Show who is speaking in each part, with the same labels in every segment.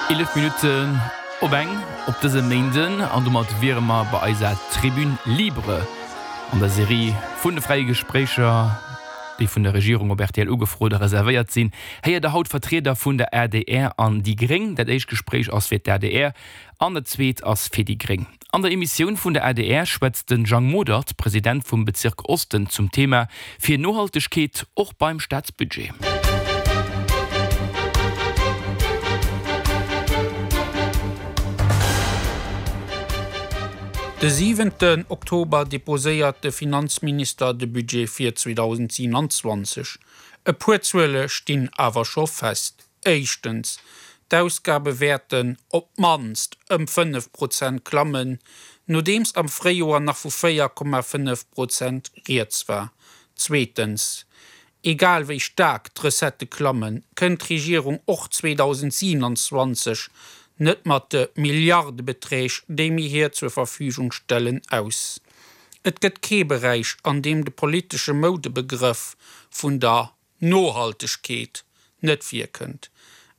Speaker 1: 11 Minutten op eng op dësem Méinden an domat wiere mer bei eiser Tribune libre an der Serie vun de fräie Gespréicher, déi vun der Regierung op rtl ugefrot a reservéiert sinn. Héiert der haut Vertrieder vun der adr an déi gréng. Dat éischt Gespréich ass fir d'ADR an dat zweet ass fir déi gréng. An der Emissioun vun der adr schwätzt de Jang Modert, President vum Bezirk Osten, zum Thema Fir Nohaltegkeet och beim Staatsbudget.
Speaker 2: De siwenten Oktober deposéiert de Finanzminister de Budget fir 2027. E puer Zuele stinn awer scho fest. Éischtens, d'Ausgabe wäerten op d'mannst ëm 5 Prozent klammen, nodeems am Fréijoer nach vu 4,5 Prozent rieds war. Zweetens, egal wéi staark d'Recettë klammen, kënnt d'Regierung och 2027 net mat de Milliardebeträg, déi mir hir zur Verfügung stellen, aus. Et gëtt kee Beräich, an deem de politesche Moudebegrëff vun der Nohaltegkeet net virkënnt,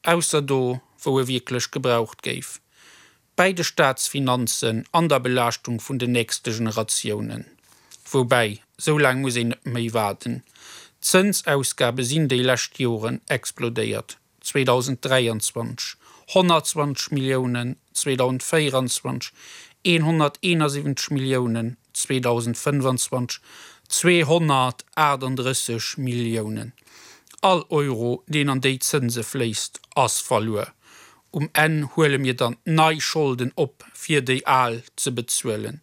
Speaker 2: ausser do wou e wierklech gebraucht géif, bäi de Staatsfinanzen an der Belaaschtung vun den nächste Generatiounen. Woubäi, sou laang muss een net méi waarden, d'Zënsausgabe sinn déi lescht Joren explodéiert. 2023 120 Milliounen, 2024 171 Milliounen, 2025 238 Milliounen. All Euro, deen an déi Zënse fléisst, ass verluer. Um Enn huele mir dann nei Scholden op, fir déi al ze bezuelen.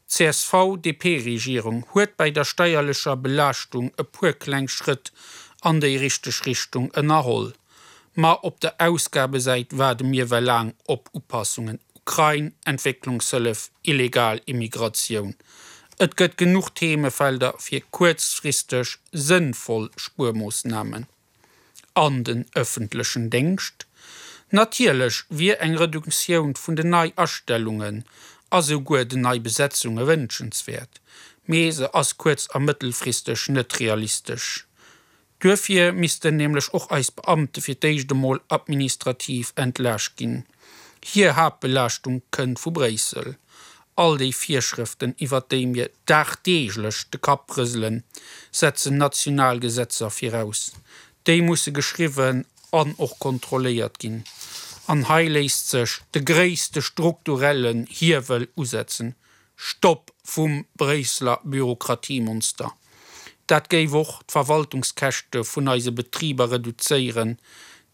Speaker 2: D'CSV-DP-Regierung huet bäi der steierlecher Belaaschtung e puer kleng Schrëtt an déi richteg Richtung ënnerholl. Ma op der Ausgabesäit waarde mir well laang op Upassungen, Ukrain, Entwécklungshëllef, illegal Immigratioun. Et gëtt genuch Themefelder fir kuerzfristeg sënnvoll Spuermoossnamen. An den ëffentlechen Déngscht? Natierlech wier eng Reduktioun vun den Neiastellungen a souguer den Neibesetzunge wënschenswäert, mee se ass kuerz a mëttelfristeg net realistesch. Duerfir missten nämlech och eis Beamte fir d'éischt emol administrativ entlaascht ginn. Hir Haaptbelaaschtung kënnt vu Bréissel. All déi Virschrëften, iwwert déi mir dagdeeglech de Kapp rëselen, setzen national Gesetzer viraus. Déi musse geschriwwen an och kontrolléiert ginn. An hei léisst sech de gréisste strukturellen Hiewel usetzen, Stopp vum Bréisseler Bürokratiemonster. Dat géif och d'Verwaltungskäschte vun eise Betriber reduzéieren,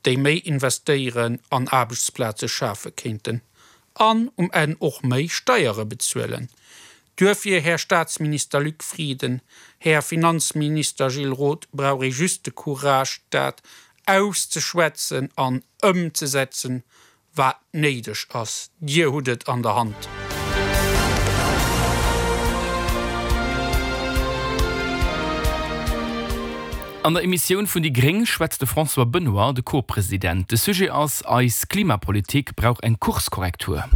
Speaker 2: déi méi investéieren an Aarbechtsplaze schafe kéinten an um Enn och méi Steiere bezuelen. Duerfir, Här Staatsminister Luc Frieden, Här Finanzminister Gilles Roth, brauch ee just de Courage, dat auszeschwätzen an ëmzesetzen, wat néideg ass. Dir hutt et an der Hand.
Speaker 1: An der Emissioun vun déi gréng schwätzt de François Benoy, de Co-President. De Sujet ass, Eis Klimapolitik brauch eng Kurskorrektur.